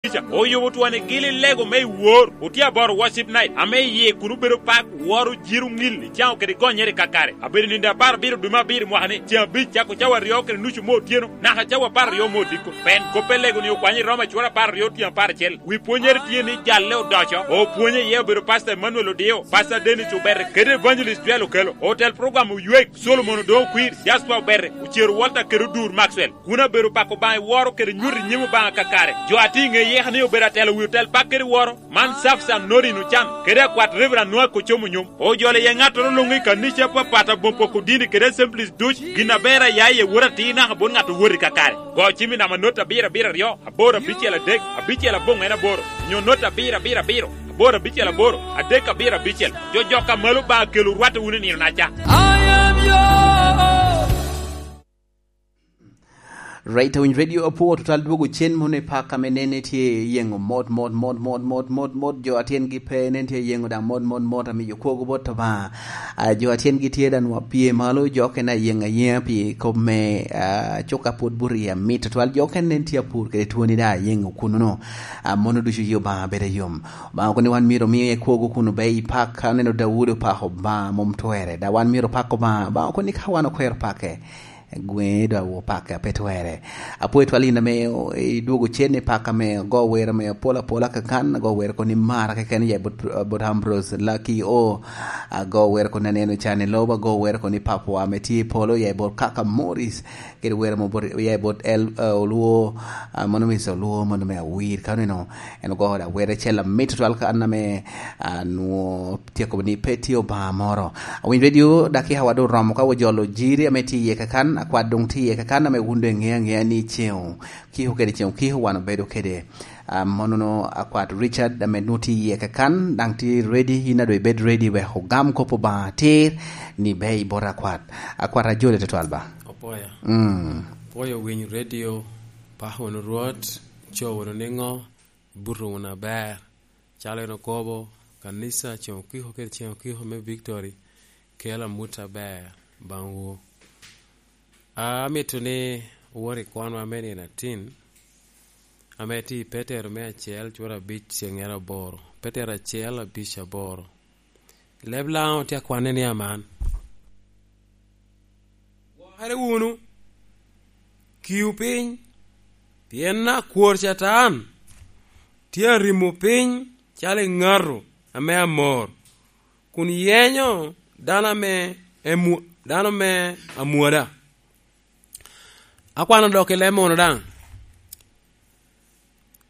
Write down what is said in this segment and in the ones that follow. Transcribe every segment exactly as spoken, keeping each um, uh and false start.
Ca, oyubo twoni gili lego me i wor. Otye aboro worship night, ame iye kun obedo pak, woro, jiro, ŋil, icaŋo kede gonyere kakare. Abedo nindo apar abiro dwe me abiro mwaka ni, ceŋ abic cako cawa aryo kede nucu me otyeno, naka cawa apar aryo me odiko. Pien kop me lego ni okwanyo i Roma cura apar aryo tyen apar acel. Wi pwonyere tye ni jalle odoco. Opwonye iye obedo Pastor Emmanuel Odio, Pastor Dennis Obere, kede Evangelist Joel Okelo. Otel program Oywek, Solomon Odongo Kwir, Jasper Obere, Ocero Walter kede Odur Maxwell. Kun abedo pako Obaŋa i woro kede nyuto i nyim Obaŋa kakare. Jo a tye i ŋe yeka ni obedo atelo wi otel pak kede woro, man Safsan Norin Ocan, kede akwat Reverend Noah Kocomo Nyom. Ojolo iye ŋattoro luŋ i kanica apapat aboŋ poko dini kede Assemblies duc, gin aber aya iye wot atir naka bot ŋat owot i kakare. Go cim i namba not abiro abiro aryo, aboro abicel adek, abicel aboŋ en aboro, nyo not abiro abiro abiro, aboro abicel aboro, adek abiro abicel. Jo jok a malo Obaŋa kelo rwatte wunu i nino-naca. I am yours. Right, Awiny Radio apwo tutwal dwogo cen mono i pak ame nene tye yeŋo mot, mot, mot, mot, mot, mot, mot, jo a tyengi pe nen tye yeŋo daŋ mot, mot, mot, amiyo kwogo bot Obaŋa. Ah, jo a tyengi tye daŋ nwa pye malo, jo okene ayeŋ ayeŋa pi kop me, ah, cuka pwod buto i amit tutwal, jo okene nen tye apur kede twoni daŋ ayeŋo kuno-nu. Ah, mono ducu yi Obaŋa bedo yom. Obaŋa kono ni wan myero omi ekwogo kun obe i pak, aneno Daudi opako Obaŋa mom twerre, daŋ wan myero opak Obaŋa. Obaŋa kono ni ka wan okwero pake, gweŋe dok opake a pe twerre. Apwoyo twal in ame idwogo cen i pak ame ago wer ame apol apola kakan, ago wer kono ni mara keken ya i bot, bot Ambrose Lucky O, ago wer kono ni aneno can i lobo, ago wer kono ni Papwa ame tye i polo ya i bot kaka Morris, kede wer ame oya i bot el, eh, Olwo, ah, mano me Olwo, mano me Awir, ka oneno en ogo da wer acel amit tutwal kan ame, ah, nwo tyeko ni pe tye Obaŋa moro. Awiny Radio, dakika wa doŋ oromo ka wajolo jiri ame tye iye kakan, akwat doŋ tye iye kakan ame wun doŋ iŋeo aŋea ni ceŋ okiko kede ceŋ okiko wan obedo kede. Ah, monono akwat Richard ame nwo tye iye kakan, daŋ tye ready, in a doŋ ibed ready wek ogam kop Obaŋa atir ni be i bot akwat. Akwat ajoli tutwal ba. Opwoyo. Mm. Opwoyo Winy Radio, pako wunu Rwot, co wunu niŋo, buto wunu aber. Calo en okobo, kanica ceŋ okiko kede ceŋ okiko me Victory, kelo amut aber baŋwu. Amito ni wot i kwanwa me nino atin, ame tye i Petero me acel, cura abic, ceŋere aboro. Petero acel, abic, aboro. Leb Laŋo tye akwanne ni aman. Gwokere wunu, kiu piny, pien akwor Catan tye arimo piny calo eŋato ame amor, kun yenyo dano ame emu-, dano me amwoda. Akwano dok i leb mono daŋ.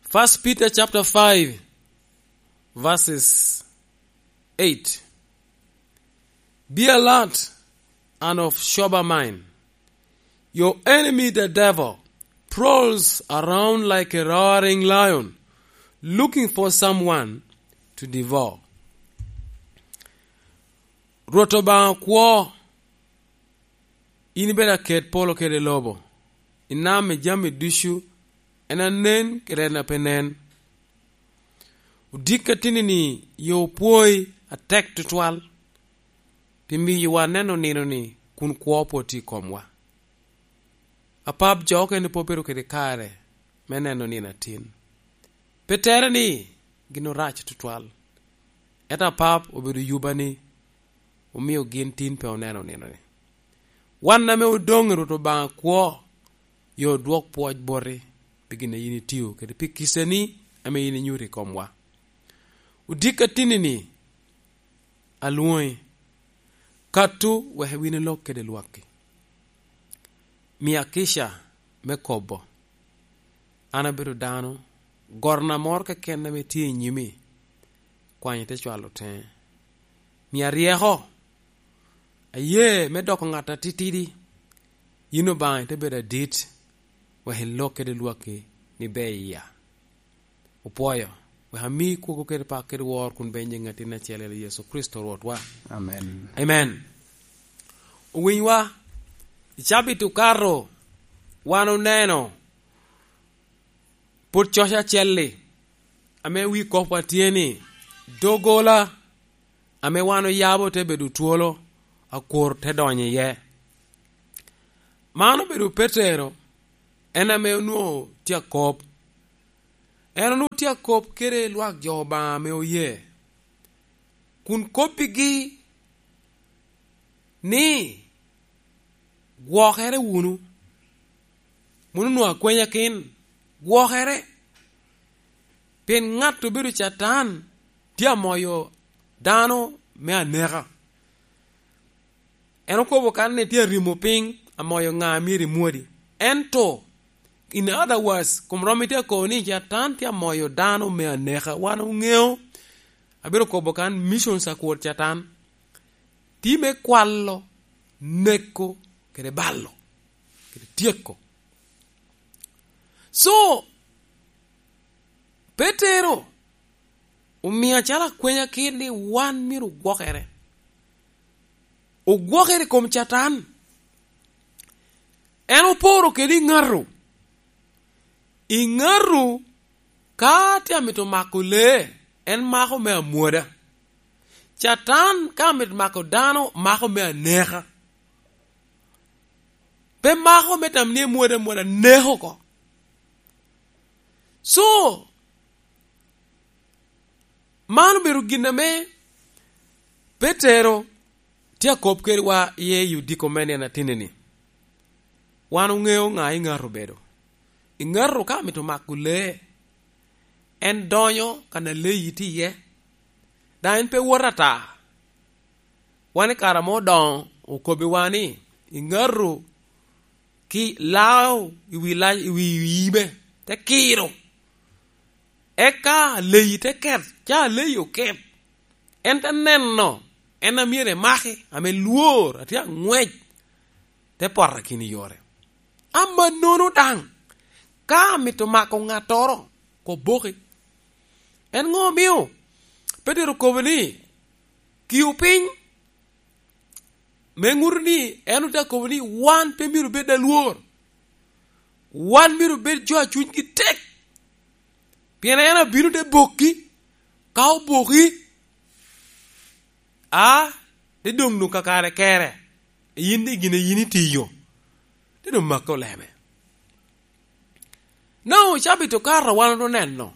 First Peter chapter five, verses eight. Be alert and of sober mind. Your enemy, the devil, prowls around like a roaring lion, looking for someone to devour. Rwot Obaŋa kwo, in ibedo aket polo kede lobo, inam i jami ducu, en anen kede en a pe nen. Odikki ateni-ni yo opwoi atek tutwal, pi miyowa neno nino-ni kun kwo pwod tye i komwa. Apap jo okene pe obedo kede kare me neno nino atin. Pe tere ni gin orac tutwal. Ento apap obedo yuba ni omio gin tin pe oneno nino-ni. Wan ame odoŋ i Rwot Obaŋa kwo, yo odwok pwoc boti pi gin a yin itio kede pi kicani ame yin inyuto i komwa. Odikki ateni-ni, alwoŋi, katu wek iwin lok kede lwakki. Mia kica me kobo. An abedo dano, gorna moro keken ame tye i nyimi, kwany ite cwalo teŋe. Mia ryeko, aye me doko ŋat atitidi, yin Obaŋa ite bedo adit, wek ilok kede lwakki ni ber iya. Opwoyo, wek ami kwogo kede pak kede wor kun benye ŋatin acel i Yecu Kricito Rwotwa. Amen. Amen. Owinywa, i cabit okato, wan oneno pwod coc acel-li, ame wi kopwa tye ni, doggola ame wan oyabo te bedo twolo, akwor te donyo iye. Man obedo Petero, en ame onwoŋo tye akop. En onwoŋo tye akop kede lwak jo Obaŋa ame oye, kun kobbigi ni, "Gwokere wunu." Mano onwoŋo akwenya kin, gwokere. Pien ŋat obedo Catan tye amoyo dano me aneka. En okobo kan ni tye arimo piny, amoyo ŋa a myero imwodi. Ento, in other words, kom romo tye akobo ni Catan tye amoyo dano me aneka. Wan oŋeo, abiro kobo kan, missions a kwor Catan tye me kwalo, neko, kede balo, kede tyeko. So, Petero omio acalo akwenya kit ni wan myero ogwokere. Ogwokere i kom Catan. En oporo kede i ŋato. I ŋato ka tye amito mako lee, en mako me amwoda. Catan ka amito mako dano, mako me aneka. Pe mako me tam ni emwodo amwoda, neko oko. So, man obedo gin ame Petero tye akop kedwa iye i odiko me nino atinni-ni. Wan oŋeo ŋa i ŋato obedo. I ŋato ka amito mako lee, en donyo kan a lee tye iye, daŋ en pe wot ata. Wan i kare ame odoŋo okobbiwa ni, i ŋato ki lao i wi lac, i wi yibe, te kiro. Eka leyi te ket, ca leyi oket. En te neno en a myero emaki, ame lwor, atye aŋwec, te poto i kin yore. Amannono daŋ, ka amito mako ŋattoro, koboki. En ŋo omio Petero okobo ni, "Kiu piny"? Me ŋuto ni en ote akobo ni wan pe myero obed alwor. Wan myero obed jo a cunygi tek. Pien en abino te bokki, ka oboki, a, te doŋ doŋ kakare kere, yin i gin a yin itiyo, te doŋ makke oleme. Nao cabit okato wan oto neno,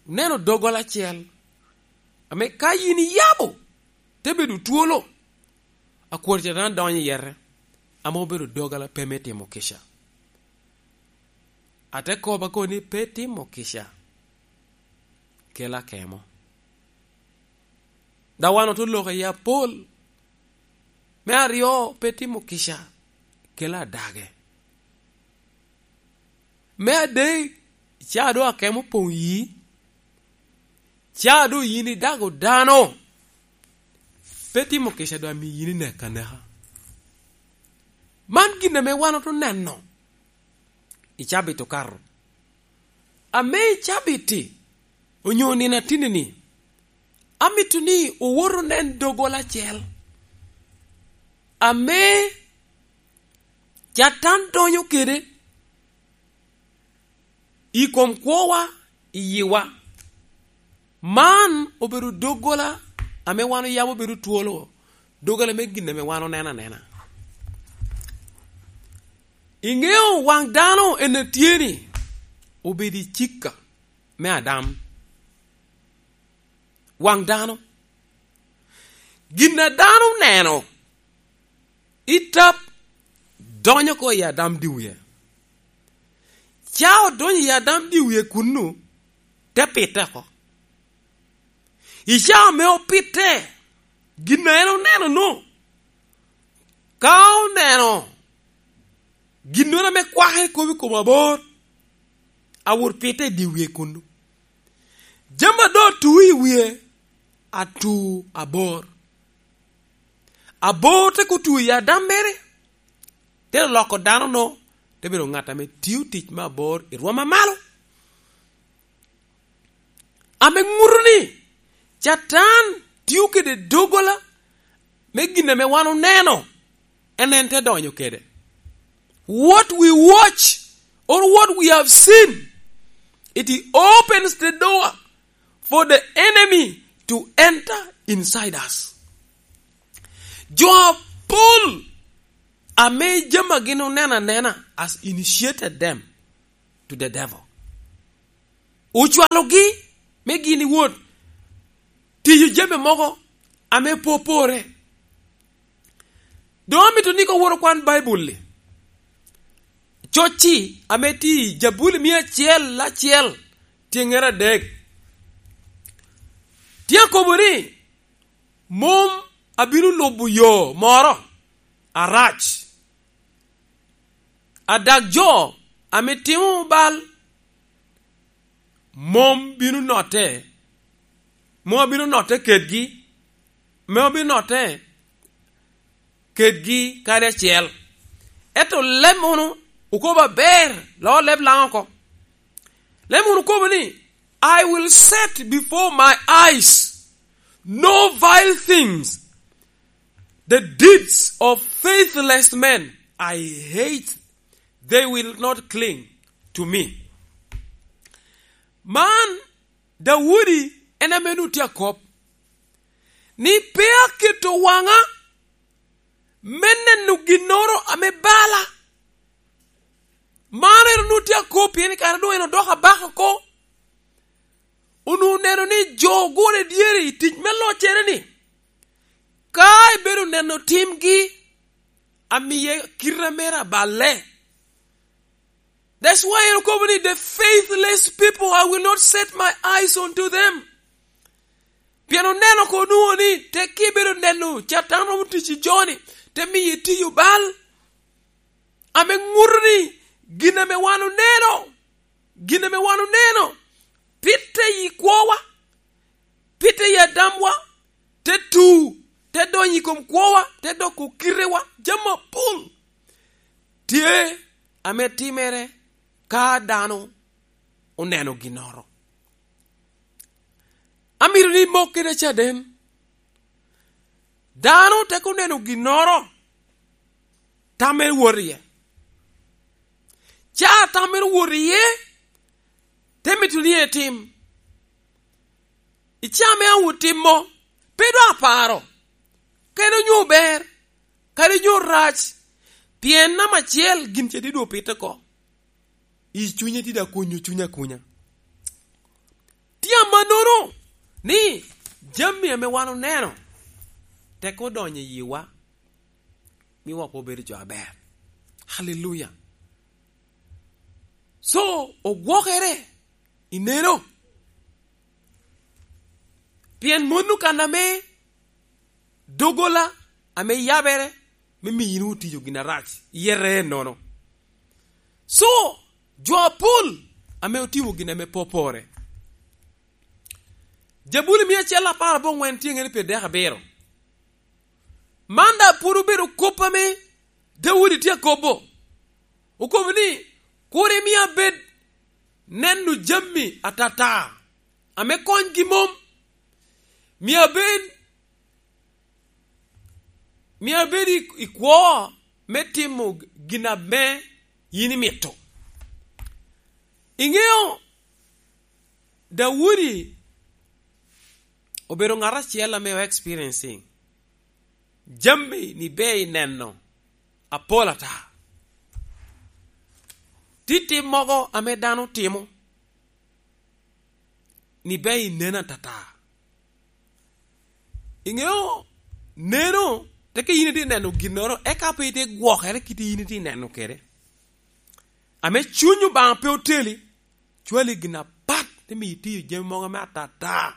neno doggola acel, ame ka yin iyabo, te bedo twolo, akwor Catan donyo i yete, ame obedo doggola pe me timo kica. Ate kobo ako ni pe timo kica kelo akemo. Daŋ wan oto loko i apol. Me aryo, pe timo kica kelo adage. Me adek, ca doŋ akemo opoŋ yi, ca doŋ yin idago dano, pe timo kica doŋ amio yin inek aneka. Man gin ame wan oto neno i cabit okato. Ame i cabit-ti, onyo nino atinni-ni, amito ni owot onen doggola acel ame Catan donyo kede i kom kwowa, i yiwa. Man obedo doggola ame wan oyabo obedo twolo, doggola me gin ame wan oneno anena. Iŋeo waŋ dano en a tye ni obedo i cikka me Adam. Waŋ dano. Gin a dano oneno, i tap donyo oko i Adam dye wie. Ca odonyo i Adam dye wie kunnu, te pite oko. I ca ame opitte, gin a en oneno-nu, ka oneno ginnoro ame kwake kop i kom abor, awot pite i dye wie kunnu. Jami a doŋ atu i wie, atu abor. Abor te kutu i Adam mere, te loko dano-nu, te bedo ŋat ame tio tic me abor i rwom amalo. Ame ŋuto ni, Catan tio kede doggola me gin ame wan oneno, en, en te donyo kede. What we watch or what we have seen, it opens the door for the enemy to enter inside us. Jo apol ame jami a gin oneno anena has initiated them to the devil. Ocwalogi me gin i wot tiyo jami mogo ame pe opore. Doŋ amito ni ka woro kwan Baibul-li, cocci ame tye i Jabuli mia acel acel, tyeŋŋere adek, tye akobo ni, "Mom abino lubo yo moro arac, adak jo ame timo bal mom bino notte, mom abino notte kedgi, mom abino notte kedgi kadi acel." Ento leb munu okobo aber, loo leb Laŋo oko. Leb munu okobo ni, "I will set before my eyes no vile things, the deeds of faithless men I hate, they will not cling to me." Man, Daudi en ame nu tye akop ni, "Pe aketo waŋa me neno ginnoro ame bala." Man en onwoŋo tye akop pien i kare doŋ en odoko abaka oko. Onwoŋo oneno ni jo ogure dyere i tic me loccere-ni, ka ebedo neno timgi, amie kite mere aballe. That's why en okobo ni, "The faithless people, I will not set my eyes unto them." Pien oneno ko onwoŋo ni tek ibedo neno Catan romo tic i jo-ni, te miyo itiyo bal. Ame ŋuto ni gin ame wan oneno, gin ame wan oneno, pitte i kwowa, pitte i adamwa, te tu, te donyo i kom kwowa, te doko kitewa, jami apol tye ame timere ka dano oneno ginnoro. Amito ni mok kede caden. Dano tek oneno ginnoro, tam mere wot iye. Ca tam mere wot iye, te mito ni etim. I ca me awu timo, pe doŋ aparo, kadi onyo ber, kadi onyo rac, pien namba acel gin ce didwo pite oko. I cunye tye daŋ kunyo cuny akunya. Tye amannono ni jami ame wan oneno tek odonyo i yiwa, miwa pe obedo jo aber. Haleluya! So, ogwokere, ineno? Pien mano kan ame doggola ame yabere me miyo in otiyo gin arac, yete ennono. So, jo apol ame otimo gin ame pe opore. Jabuli mia acel apar aboŋwen tye ŋene pyeradek abiro. Man daŋ pwod obedo kop ame Daudi tye akobo. Okobo ni, "Kur imi abed neno jami atata ame konygi mom. Mi abed, mi abed i, i kwo me timo gin ame yin imito." Iŋeo, Daudi obedo ŋat acel ame o experiencing jami ni ber i neno apol ata. Tye tim mogo ame dano timo ni ber i neno atata. Iŋeo, neno, teke yin itye neno ginnoro, eka pe itye gwokere kit yin itye neno kede. Ame cuny Obaŋa pe oteli, cwali gin apat, te miyo itiyo jami mogo ame atata,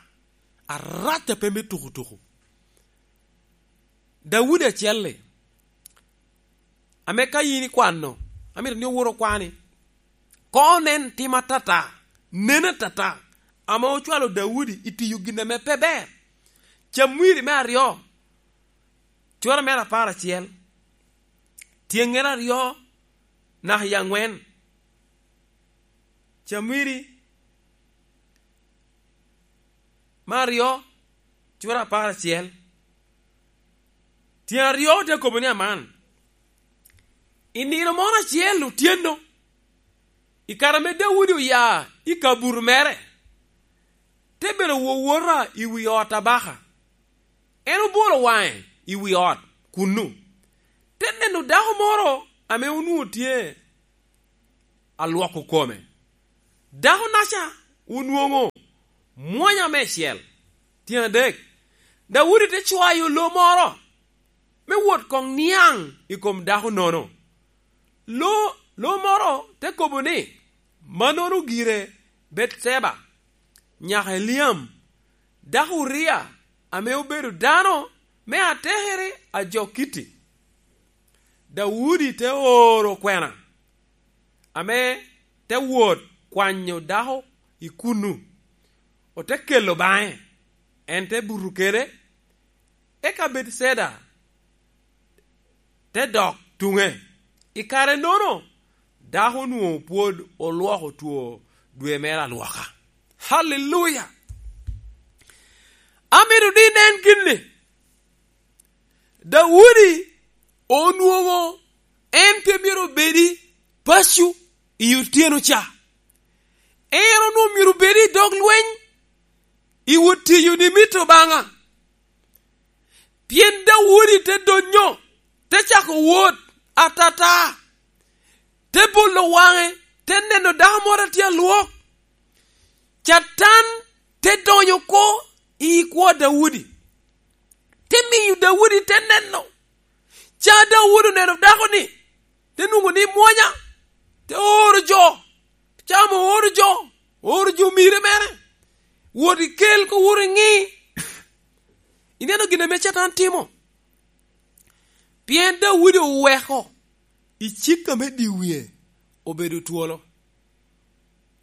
arac a pe me tukutuku. Daudi acel-li, ame ka yin ikwano, amito ni owor okwani, koŋ onen tim atata, nen atata, ame ocwalo Daudi i tiyo gin ame pe ber. Camwiri me aryo, cura mere apar acel, tyeŋŋere aryo naka i aŋwen. Camwiri me aryo, cura apar acel, tyen aryo te kobo ni aman, i nino moro acel otyeno, i kare ame Daudi oya i kabuto mere, te bedo wowota i wi ot abaka. En obolo waŋe i wi ot kunnu, te neno dako moro ame onwoŋo tye alwoko kome. Dako-naca onwoŋo mwanya meicel. Tyen adek, Daudi te cwayo lo moro me wot koŋ niaŋ i kom dako-nono. Lo, lo moro te kobo ni, "Mannono gire Betceba, nyaka Eliam, dako Uria, ame obedo dano me atekere a jo Kitti." Daudi te oro kwena, ame te wot kwanyo dako i kunnu, ote kelo baŋe, en te buto kede, eka Betceda te dok tuŋe. I kare-nono, dako onwoŋo pwod olwoko two dwe mere alwoka. Haleluya! Amito ni inen gin-ni. Daudi onwoŋo en pe myero obed i paco i otyeno ca. En onwoŋo myero obed i dog lweny, i wot tiyo ni mito Obaŋa. Pien Daudi te donyo, te cako wot atata, te bolo waŋe, te neno dako moro a tye alwok. Catan te donyo oko i kwo Daudi, te miyo Daudi te neno. Ca Daudi oneno dako-ni, te nwoŋo ni mwonya, te oro jo, ca ame ooro jo, ooro jo omire mere, wot ikel ko, wot iŋi. Ineno gin ame Catan timo? Pien Daudi oweko i cik ame di wie obedo twolo,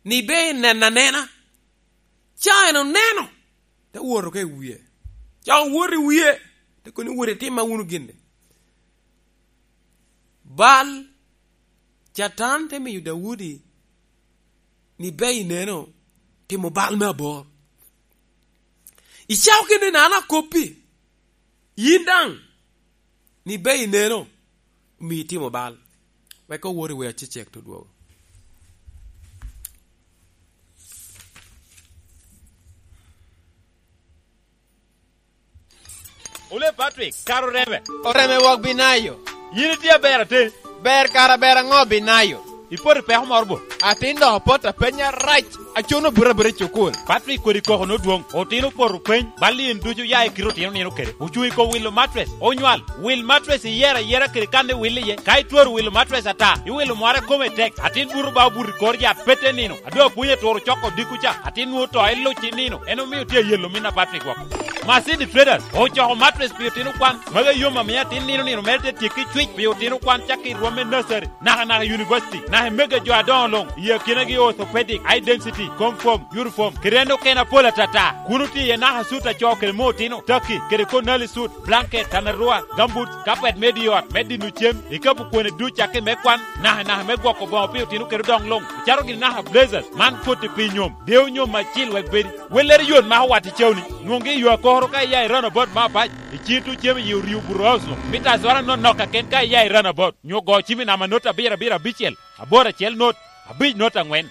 ni be inen anena. Ca en oneno, te woto ka i wie. Ca owot i wie, te kono ni, "Wot itimma wunu gin-ni." Bal, Catan te miyo Daudi ni, "Be ineno timo bal me abor. Icako kede ni an akoppi, yin daŋ, ni be ineno, omi itimo bal." Wek owot i wer acecek te dwogo. Ole Patrick, kara oreme. Oreme wok Binayo. Yin itye aber atin. Ber kara ber aŋo Binayo? Ipoto i peko moro bo? Atin dok apoto apenya rac, acono buto abuta i cukul. Patrick kodi koko nodwoŋ. Otino opoto peny, bal in ducu ya i kite otino nino kede. Ocuŋ i kom wilo matres, onywal. Wil matres iyero ayera kede kan iwil iye. Ka itwero wilo matres ata, iwilo mware kome tek. Atin buto ba obuto i kor yat pete nino. A doŋ apwony aturo coko odiko ca, atin nwoŋo to iluc i nino, en omio tye ayelo min a Patrick woko. Masidi Traders ocoko matres pi otino kwan, magi yom amiyo atin nino nino mere te tyekki cwic pi otino kwan cakki i rwom me nursery, naka naka i university, naka i mege jo adoŋo luŋ, i akinagi orthopedic, eye density, confirm, uniform, kede en okene apol atata. Kun otye iye naka sut a co kede me otino, taki, kede konali sut, blanket, tanarua, gambut, kapet me di ot, me dino cem, ikapu kwone duc cakki me kwan, naka naka me gwoko boŋo pi otino kede odoŋ luŋ, ocato gini naka blazers, man koti pi nyom, deo nyom acil wek bedi. Wellere yot mako wat i cewni, nwoŋgi i yo akoro ka iya i roundabout me abac, i ciŋ tuŋ cem i yi oryo buto house luŋ, mita azora nonok kaken ka iya i roundabout, nyo go cim i namba not abiro abiro abicel, aboro acel not, abic not aŋwen.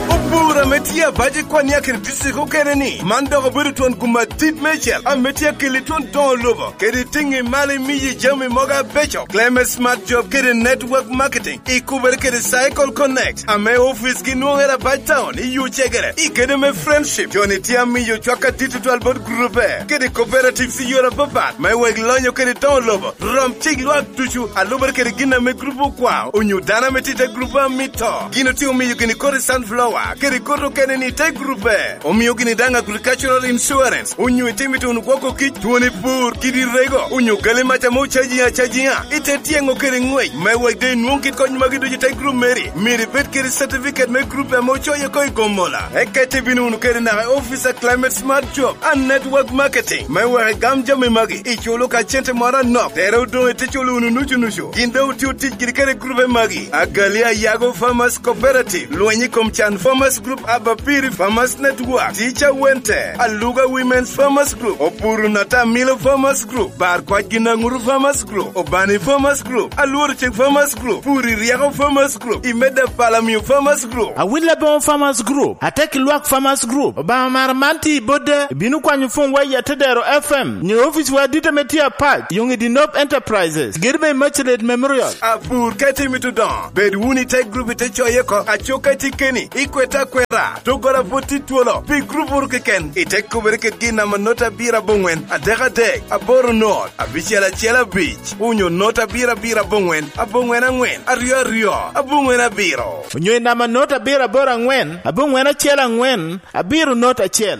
Opur ame tye abac i Kwania kede district okene ni, man dok obedo twon gum adit meicel ame tye akeli twon doŋo lobo, kede tiŋi malo imiyi jami mogo abeco. Clement Smart Job kede Network Marketing ikubere kede Cycle Connect, ame ofice gi nwoŋere abac town i Yucegere, i gedo me Friendship. Joni tye amiyo cwak adit tutwal bot grupe kede cooperatives i yore apapat, me wek lonyo kede doŋo lobo. Rom cik lwak ducu, a lubere kede gin ame grup okwao, onyo dano ame tye i te grup a mito. Gin otye omiyo gini kodi sunflower, kede kodi okene ni i te grup B. Omio gini daŋ agricultural insurance, onyo itimo ituno gwoko kic, twoni pur, kidi rego, onyo gali mac ame ocaji acajiŋa, ite tyeŋo kede ŋwec. Me wek doŋ inwoŋ kit kony magi ducu i te grup meri, myero ibed kede certificate me grup ame ocoyo oko i Gomola. Eka ite bino wunu kede naka i office a Climate Smart Job and Network Marketing. Me wek igam jami magi, iculo ka cente moro anok, tere odoŋ ite culo wunu nucu nucu. Gin doŋ otio tic giri kede grupe magi, Agalia Yago Farmers Cooperative, Lweny i kom Can Farmers Group Abapiri Farmers Network, Teacher Wente, Aluga Women's Farmers Group, Opuru Nata Milo Farmers Group, Bar Kwac Ginaŋuru Farmers Group, Obani Farmers Group, Alworo Cik Farmers Group, Puri Ryeko Farmers Group, Imeda Palamio Farmers Group, Awilla Boŋo Farmers Group, Ateki Lwak Farmers Group. Obaŋa mara man tye i bodde, ibino kwanyo pwony wa i Atedero F M, nyo ofici wa adit ame tye apac, Yoŋ i Dinop Enterprises, gedo me Immaculate Memorial. Apur ka itimo i Tudoŋo, bed wunu i te gurup i te coye oko, acuk ka itye keni, ikwete akweta, doggola pwod tye twolo, pi gurup wunu keken, ite kubere kede gin namba not abiro aboŋwen, adek adek, aboro not, abicel acel abic, onyo not abiro abiro aboŋwen, aboŋwen aŋwen, aryo aryo, aboŋwen abiro. Onyo i namba not abiro aboro aŋwen, aboŋwen acel aŋwen, abiro not acel.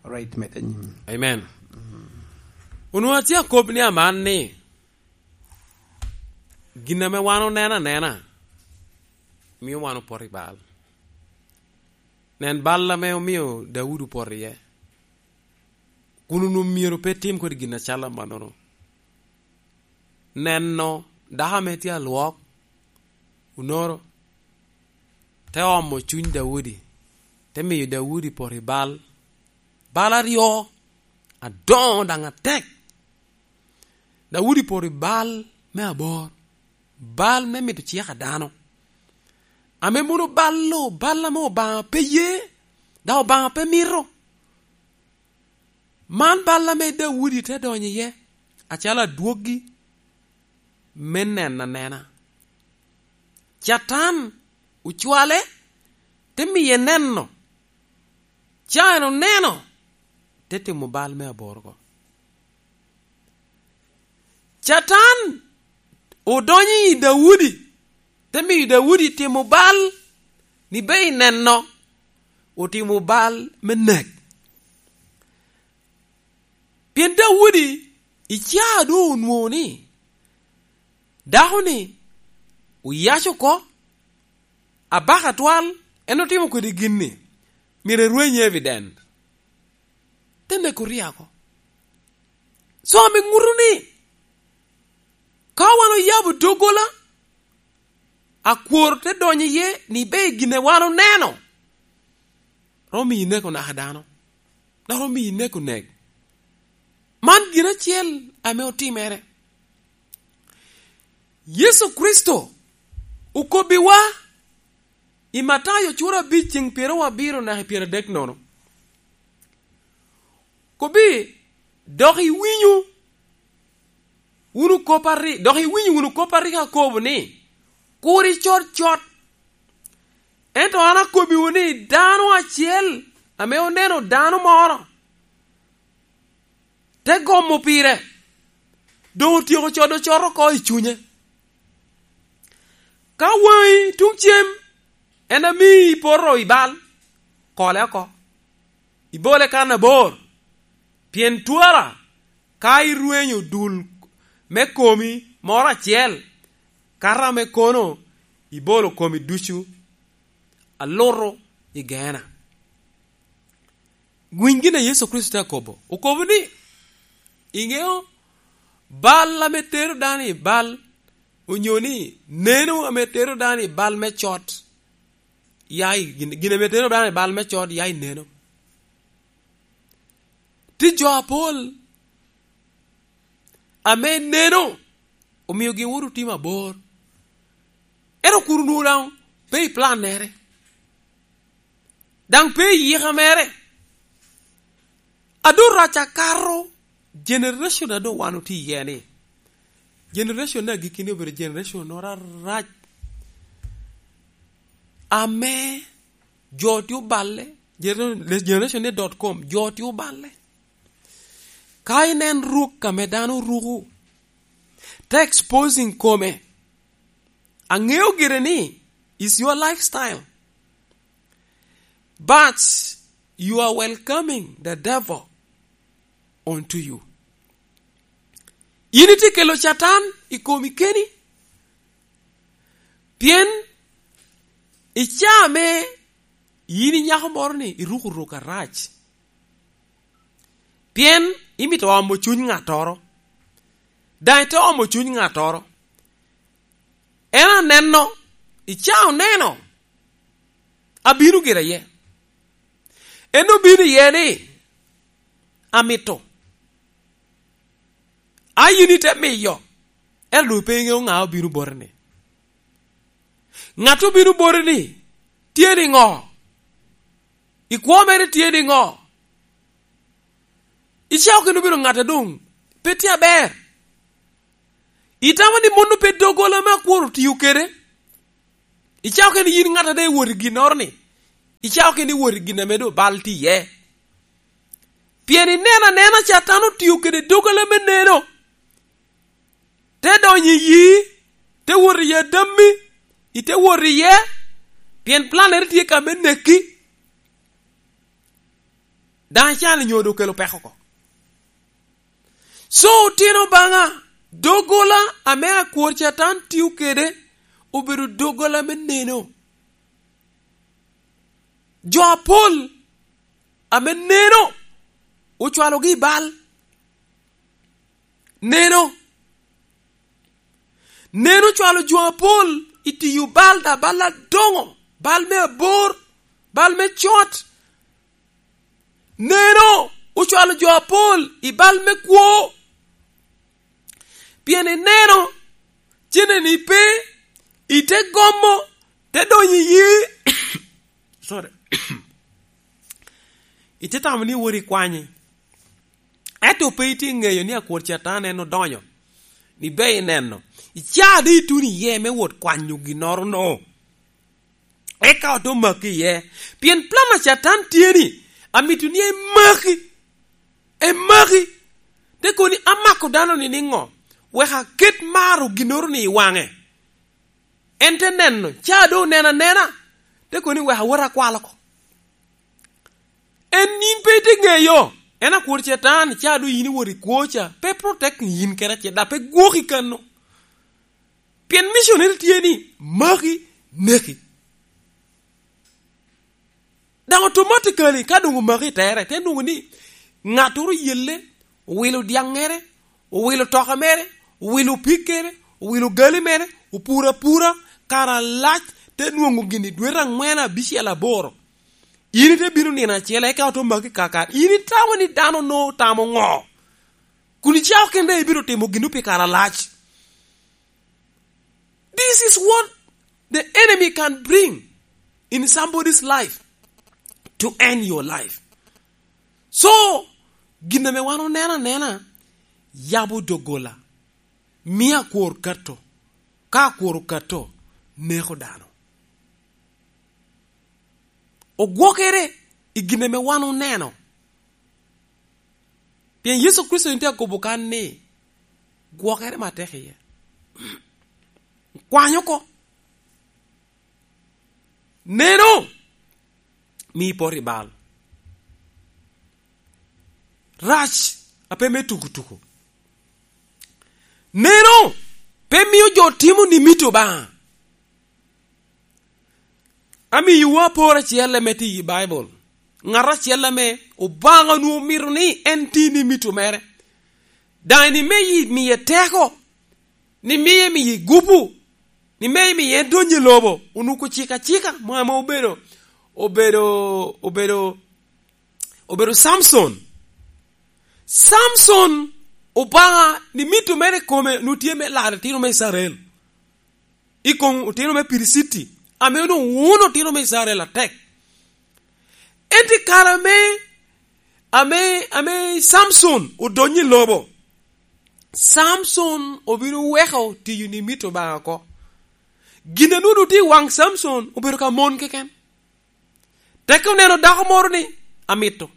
Right, medde nyim. Amen. Onwoŋo atye akop ni aman ni, gin ame wan oneno anena, mio wan opoto i bal. Nen bal ame omio Daudi opoto iye. Kun onwoŋo myero pe tim kodi gin acalo amannono. Neno dako ame tye alwok, onoro, te omo cuny Daudi, te miyo Daudi poto i bal. Bal aryo adoŋo daŋ atek. Daudi poto i bal me abor, bal me mito cik a dano. Ame mono bal-lo, bal ame Obaŋa pe ye, daŋ Obaŋa pe mito. Man bal ame Daudi te donyo iye, acalo adwoggi me neno anena. Catan ocwale, te miye neno. Ca en oneno, te timo bal me aboro oko. Catan odonyo i Daudi, te miyo Daudi timo bal, ni be i neno, otimo bal me nek. Pien Daudi i caa doŋ onwoŋo ni, dako-ni oyac oko, abaka atwal, en otimo kodi gin-ni, myero erweny evident. Te neko Uria oko. So, ame ŋuto ni, ka wan oyabo doggola, akwor te donyo iye ni be gin a wan oneno, romo miyo ineko naka dano, dok romo miyo ineko nek. Man gin acel ame otimere. Yecu Kricito okobbiwa i Matayo cura abic ceŋ pyeraryo abiro naka i pyeradek nono. Kobbi, dok iwinyo wunu kop ari-, dok iwinyo wunu kop a rik akobo ni, "Kur icod cot." Ento an akobbiwu ni, dano acel ame oneno dano moro, te gomo pire, doŋ otyeko codo cot oko i cunye. Ka waŋi tuŋ cem en amii poto i bal, kole oko, ibole kan abor, pien twara ka irwenyo dul me komi moro acel, kato ame kono ibolo komi ducu aluto i Geena. Winy gin a Yecu Kricito te akobo. Okobo ni, iŋeo bal ame tero dano i bal, onyo ni neno ame tero dano i bal me cot, ya i gin, gin ame tero dano i bal me cot, ya i neno. Tye jo apol ame neno omiogi wot otimo abor. Ento kun onwoŋo daŋ pe i plannere, daŋ pe i yika mere. A doŋ rac akato generation a doŋ wan otye iye ni, generation me agikki-ni obedo generation moro arac, ame jo tye oballe, gener-, generation ni dot com, jo tye oballe. Ka inen ruk ame dano ruko, te exposing kome. Aŋeo gire ni, is your lifestyle. But you are welcoming the devil onto you. In itye kelo Catan i komi keni, pien i caa me in inyako moro ni iruko ruk arac, pien imito omo cuny ŋattoro, daŋ ite omo cuny ŋattoro. En aneno, i caa oneno, Abino gire iye. En obino iye ni, "Amito." A yin ite miyo, ento doŋ pe iŋeo ŋa obino boti ni. Ŋat obino boti ni, tye niŋo? I kwo mere tye niŋo? Icako kene obedo ŋat a doŋ pe tye aber. Itamo ni mano pe doggola ame akwor otio kede? Icako kene yin ŋat a doŋ iwot i ginnoro ni, icako kene iwot i gin ame doŋ bal tye iye. Pien ineno anena Catan otio kede doggola me neno, te donyo i yi, te wot i adammi, ite wot iye, pien plannere tye ka me neki. Daŋ icano nyo doŋ okelo peko oko. So, otino Obaŋa, doggola ame akwor Catan tio kede obedo doggola me neno. Jo apol ame neno ocwalogi i bal. Neno. Neno ocwalo jo apol i tiyo bal, da bal adoŋo, bal me abor, bal me cot. Neno ocwalo jo apol i bal me kwo. Pien ineno, cenneni pe, ite gomo, te donyo i yi. Sorry. Ite tamo ni iwot ikwanye. Ento pe itye ŋeyo ni akwor Catan en odonyo. Ni be ineno. Ica de ituno iye me wot kwanyo ginnoro no. Eka ote maki iye. Pien plan a Catan tye ni, amito ni emaki. Emaki. Te koni amako dano ni niŋo? Wek aket maro ginnoro ni i waŋe. En te neno, ca doŋ oneno anena. Te koni wek awot akwal oko. En yin pe ite ŋeyo. En akwor Catan, ca doŋ yin iwot i kwo ca. Pe protect yin kede acel, da pe gwoki kano. Pien missionary tye ni, maki, neki. Daŋ automatically, ka doŋ omaki i tere, te nwoŋo ni ŋattoro oyelle, owilo dyaŋŋere, owilo toka mere, owilo pikkere, owilo gali mere, opuro apura, kare alac, te nwoŋo gini dwete aŋwen abicel aboro. In ite bino nino acel, eka ote maki kaka. In itamo ni dano no tamo ŋo? Kun icako kende ibino timo gino pi kare alac. This is what the enemy can bring in somebody's life to end your life. So, gin ame wan oneno anena, yabo doggola, mio akwor kato, ka akwor okato, neko dano. Ogwokere i gin ame wan oneno. Pien Yecu Kricito en tye akobo kan ni, gwokere matek iye. Kwany oko. Neno, mi ipot i bal. Rac a pe me tukutuku. Neno, pe mio jo timo ni mito Obaŋa. Amiyowu apor acel ame tye i Baibul. Ŋat acel ame Obaŋa onwoŋo mito ni en ti ni mito mere. Daŋ ni me yi-, miye teko, ni miye miye gupu, ni me miye en donyo i lobo, onuko cik acika, mo ame obedo, obedo, obedo, obedo Samson. Samson Obaŋa ni mito mere kome nu tye me laro itino me Icrael. I kom otino me Piliciti, ame onwoŋo wuno otino me Icrael atek. Ento i kare ame, ame, ame Samson odonyo i lobo, Samson obino weko tiyo ni mito Obaŋa oko. Gin a nwoŋo tye i waŋ Samson obedo ka mon keken. Teke oneno dako moro ni, "Amito."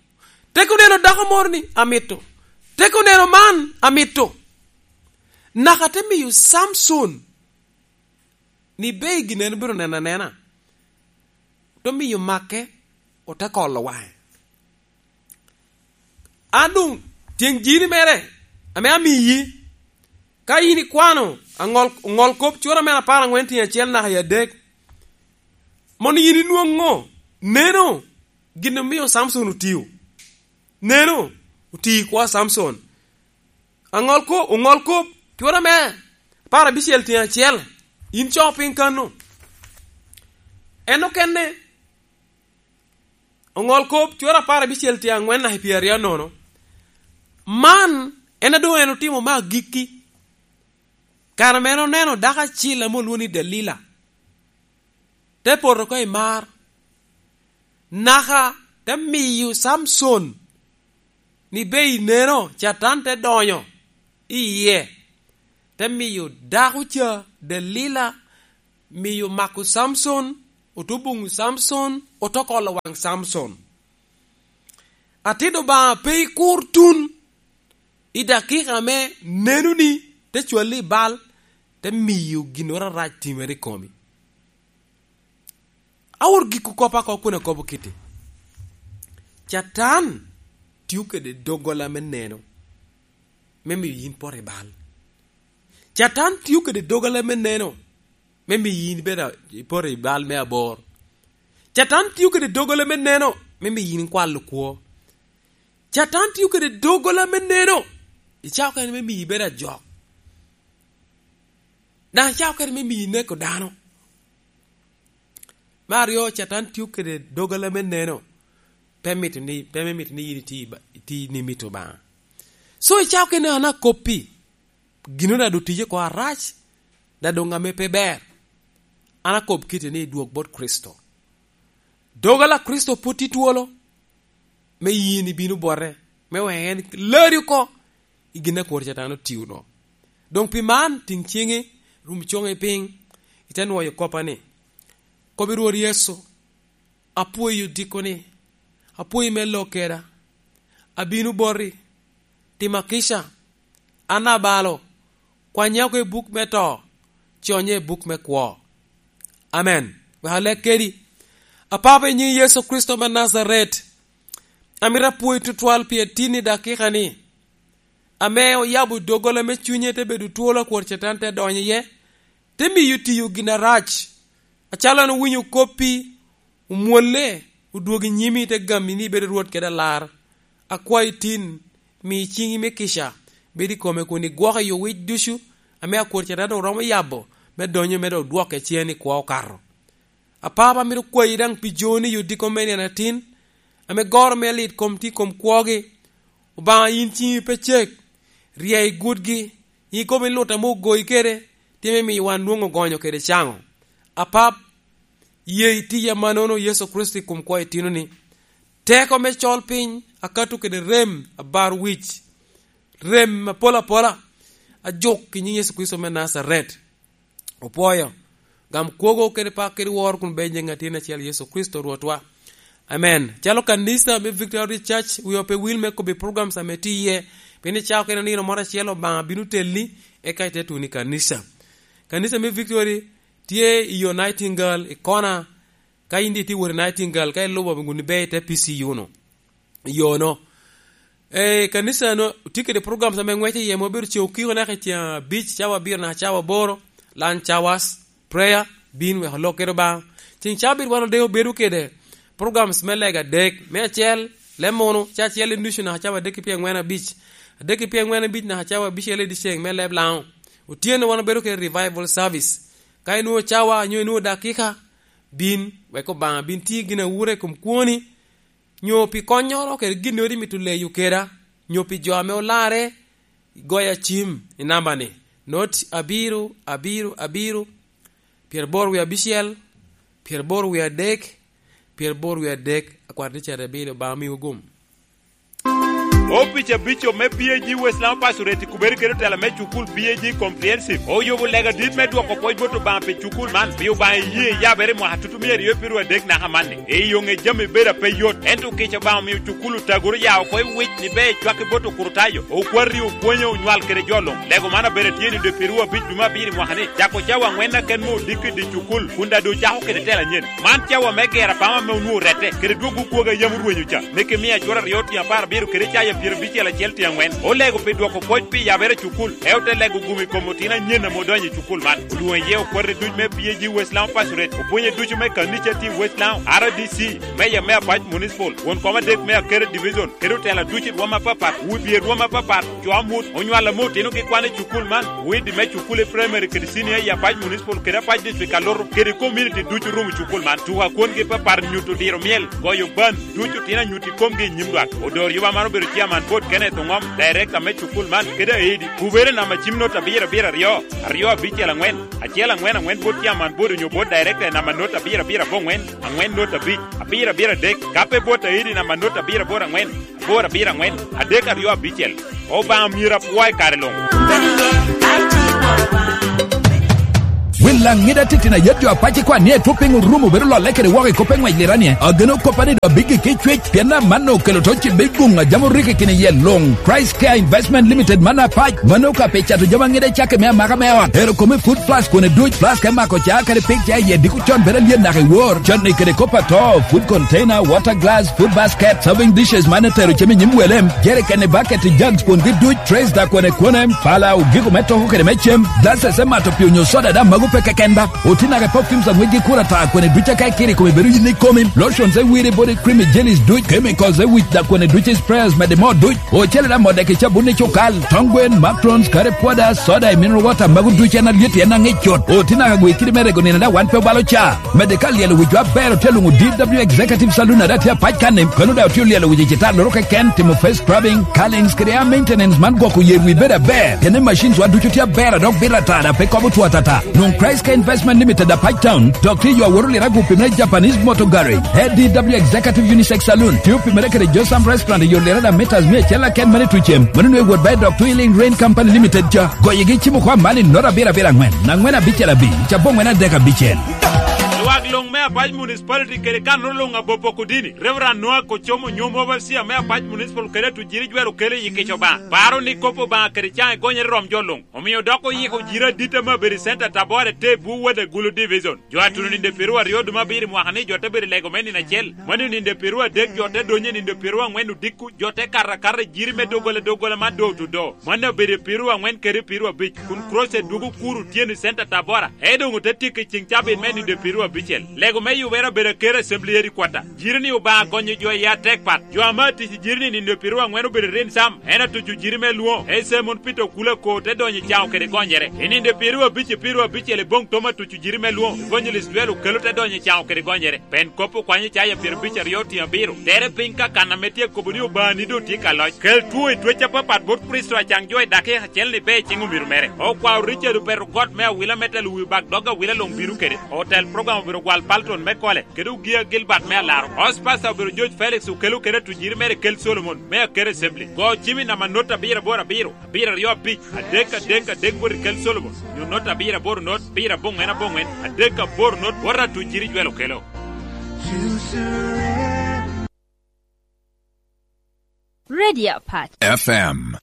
Teke oneno dako moro ni, "Amito." Teke oneno man, "Amito." Naka te miyo Samson ni be gin en obino neno anena. Te miyo make, ote kolo waŋe. An doŋ tyeŋ jiri mere ame amiyi, ka yin ikwano aŋol, ŋol kop cura mere apar aŋwen tyen acel naka i adek, mono yin inwoŋo, neno, gin omio Samson otio. Neno, otio i kwo a Samson. Aŋol ko-, oŋol kop, cura me apar abicel tyen acel, in co piny kano. En okene, Oŋol kop, cura apar abicel tye aŋwen naka i pyeraryo anono. Man en a doŋ en otimo me agikki. Kare mere oneno dako acil ame olwoŋo ni Delila, te poto oko i mar, naka te miyo Camcon ni be ineno, Catan te donyo i yie, te miyo dako ca, Delila, miyo mako Camcon, ote buŋo Camcon, ote kolo waŋ Camcon. Atit Obaŋa pe ikur tun i dakika ame nenoni te cwalli i bal, te miyo ginnoro arac timere i komi. Awor giko kop oko kun akobo kiti. Catan tio kede doggola me neno me miyo yin poto i bal. Catan tio kede doggola me neno me miyo yin ibed a-, ipoto i bal me abor. Catan tio kede doggola me neno me miyo yin ikwalo kwo. Catan tio kede doggola me neno i cawa kene me miyo ibed ajok. Daŋ i cawa kene me miyo ineko dano. Me aryo, Catan tio kede doggola me neno, pe mito ni, pe me mito ni yin iti ba-, iti ni mito Obaŋa. So, i cawa kene an akoppi, gino daŋ doŋ tije oko arac, daŋ doŋ ame pe ber. An akob kite ni idwog bot Kricito. Doggola a Kricito pwod tye twolo, me yin ibino bote, me wek en lari oko i gin a kwor Catan otio-nu. Doŋ pi man, tiŋ ciŋi, rum coŋi piny, ite nwoyo koppa ni, "Kobi Rwot Yecu, apwoyi odiko ni, apwoyi me lok keda, abino boti, tima kica, an abalo, kwanya oko i buk me to, conye i buk me kwo." Amen. Wek alek kedi. Apapa, i nyiŋ Yecu Kricito me Najaret, amito apwoyi tutwal pi atin i dakika-ni, ame oyabo doggola me cunye te bedo twolo a kwor Catan te donyo iye, te miyo tiyo gin arac. Acalo an owinyo koppi, omwolle, odwogo i nyimi, te gami ni ibedo Rwot kede Alar. Akwayi tin, mi ciŋi me kica bed i kome kun igwoko i owic ducu ame a kwor Catan oromo yabo me donyo, me dok dwoke cen i kwo okato. Apapa, amito kwayi daŋ pi joni i odiko me nino atin, ame goro me lit kom tye i kom kwogi. Obaŋa, yin ciŋi pe cek, rye i gutgi, yin ikobo ni lut ame ogoyi kede, tye me miyo wan nwoŋo gonyo kede caŋo. Apap, ye itiya mannono Yecu Kricito i kom kwo itinoni. Teko me col piny, akato kede rem, abar wic, rem apol apola, ajuk i nyiŋ Yecu Kricito me Najaret. Opwoyo. Gam kwogo kede pak kede woro kun bed nyiŋ Atin acel Yecu Kricito Rwotwa. Amen. Calo kanisa me Victory Church, wi ope wil me kobbi programs ame tye iye, pien i cawa kene nino moro acel Obaŋa bino telli, eka ite tuno i kanisa. Kanisa me Victory tye i yo Nightingale, i kona, ka in di tye wot i Nightingale, ka ilubo wun ibe i te P C U no. Yono. Eh, kanisa no tye kede programs ame ŋwece iye, ma obedo ceŋ okiko naka i ceŋ abic, cawa abiro naka cawa aboro, lunch hours, prayer, bin wek olok kede Obaŋa. Ceŋ cawa abiro wan odeko bedo kede programs me lega adek, me acel, leb munu, ca acel i nucu naka cawa adek ki pyeŋwen abic, adek ki pyeŋwen abic naka cawa abicel i dyeceŋ me leb Laŋo. Otyeno wan obedo kede revival service. Ka inwoŋo cawa, nyo inwoŋo dakika, bin, wek Obaŋa bin ti gin awura i kom kwoni, nyo pi konnyoro kede ginnoro imito leyo keda, nyo pi jo ame olarre, goya cim i namba-ni, not abiro, abiro, abiro, pyeraboro wie abicel, pyeraboro wie adek, pyeraboro wie adek, akwat ticet abiro, Obaŋa miwu gum. Opic abico me P A G West Laŋo Pastorate i kubere kede otela me cukul P A G Comprehensive oyubo lega dit me dwoko pwoc bot Obaŋa pi cukul man, pi Obaŋa iyee yabere i mwaka tutumia aryo pierwo adek naka amanni. I yo ŋe jami bedo ape yot, ento kica Obaŋa omio cukul otagoro ya oko i wic ni ber cwaki bot okurutayo. Okwati opwonyo onywal kede jo luŋ. Lego man abedo atye ni dwe pierwo abic dwe me abiro i mwaka ni, cako cawa aŋwen aken me odiko i dye cukul, kun daŋ doŋ ocako kede tela anyen. Man cawa me gero apama ame onwoŋo orette, kede dwogo kwogo a yam orwenyo ca, me Kimia cura aryo tyen apar abiro kede caya pyerabicel acel tyen aŋwen. Olego pi dwoko pwoc pi Abera cukul, e ote lego gum i kom otino anyen ame odonyo i cukul man. Olwoŋo iye okwate duc me P A G West Laŋo Pastorate, opwonye ducu me kanica tye i West Laŋo, R D C, meya me Apac Municipal, won kom adek me Akere Division, kede otela ducu i rwom apapat, wi bye rwom apapat, co amut, onywalo ame otinogi kwan i cukul man, widi me cukul i primary kede senior i Apac Municipal kede Apac District Alutu, kede community ducu rumo cukul man. Tuko akwongi apapat nyuto diro myel, goyo ban, ducu otino anyut i komgi i nyim lwak. Odor Yuba man obedo chairman board Kenneth Oŋom, director me cukul man, kede Aidi. Kubere namba cim not abiro abiro aryo, aryo abicel aŋwen, acel aŋwen aŋwen board chairman board onyo board director namba not abiro abiro aboŋwen, aŋwen not abic, abiro abiro adek. Kape board Aidi namba not abiro aboro aŋwen, aboro abiro aŋwen, adek aryo abicel. Obaŋa myero apwo i kare luŋ. Wel aŋida titino ayet jo apac ikwan ni etwo piny orumo bedo lolle kede woko i kop eŋwec liranie. Ageno kop ni do abiggi ki cwec, pien amanno okelo to cibbe guŋ a jam orikki kine iye luŋ. Christ Care Investment Limited man apac, mano ka pe cato jami aŋida cakke me amaka me ot. Ero kome food plus kone duc, plus ka imako ca kede pik ca iye diko con bedo alyen naka i wor. Con ni kede kop ato, food container, water glass, food basket, serving dishes man etero cem i nyim welem, jerikeni, bucket, jugs, kwongi duc, trays da kwene kwene, pala, ogiko me toko kede me cem, glasses me mato pii onyo soda da mago pe keken ba. Otinake perfumes aŋwec gi kura ta kwene duc aka ikiri kome bedo yin ikomi, lotions e wiri body cream jellies duc, chemicals e wic da kwene duc sprayers mede mo duc, ocele da mode ki cabun i cukal, tong gwen, matrons, kare pwoda, soda e mineral water mago duc en alyet en aŋic cut. Otinake gwi kidi me rego nino da wan pe obalo ca. Mede ka lyelo wicwa aber otye luŋo D W Executive Saloon ada tye apac kan-ni, kono daŋ otye lyelo wic i cita loro keken, timo face scrubbing, curlings kede hair maintenance man gwoko yer wi bedo aber. Kene machines wa ducu tye aber a dok bito ata da pe kobo two atata. Luŋ Christ Care Investment Limited apac town, dok tye yo aworo lira gu pimere Japanese Motor Garage. A D W Executive Unisex Saloon, tye opimere kede Josam Restaurant i yo lira da meters mia acel aken mane tucem. Mano nwe wot ba i dok two Healing Rain Company Limited ca. Goyegi cimo kwa mani not abiro abiro aŋwen, aŋwen abicel abic, cabo ŋwen adek abicel. Lwak luŋ me Apac Municipality kede kanno luŋ abopo Kudini, Reverend Noah Kocomo, nyom overseer me Apac Municipal kede atujiri jwero kelo i kic Obaŋa. Paro ni kop Obaŋa kede caŋ egonyere rom jo luŋ. Omio dok oyiko jiri adit ame abedo i Center Tabora te bwu wode Gulu Division. Jo atuno ninde piru aryo duma abiro i mwaka ni jo te bedo i lego me nino acel. Mano ninde piru adek jo te donyo i ninde piru aŋwen odiko, jo te kato akata i jiri me doggola doggola man do otudo. Mano obedo i piru aŋwen kede piru abic, kun Croce dwogo kuro otyeno i Center Tabora, e doŋ ote tyeko i ceŋ cabit me nino piru abicel. Lego me yubere obedo aker assembly headquarter. Jiri ni Obaŋa gonyo jo i atek pat. Jo ame atic i jiri ni nino piru aŋwen obedo rin sam, en atuco jiri me lwoŋo. Ese mon Peter Okula ko te donyo i caŋo kede gonyere. I nino piru abic i piru abicel i boŋ tom atuco jiri me lwoŋo. Evangelist Joel Okelo te donyo i caŋo kede gonyere. Pen kop okwanyo Icaya pyerabic aryo otiŋ abiro. Tere piny ka kan ame tye kobo ni Obaŋani doŋ tye ka loc. Kel two i twec apapat bot Kricito acaŋ jo i dakika acel ni be i ciŋ omiro mere. Okwao Richard Opeto got me awila me telo wi bak dog awila luŋ bino kede. Otel program obedo gwal Palton me Kole, kede Ogia Gilbert me Alaro. Host pastor obedo George Felix Okelo kede atujiri mere Kel Solomon me Akere Assembly. Go cimi namba not abiro aboro abiro, abiro aryo abic, adek adek adek bot i Kel Solomon. Nyo not abiro aboro not, abiro aboŋwen aboŋwen, adek aboro not, bot atujiri Joel Okelo. Radio Apac. F M.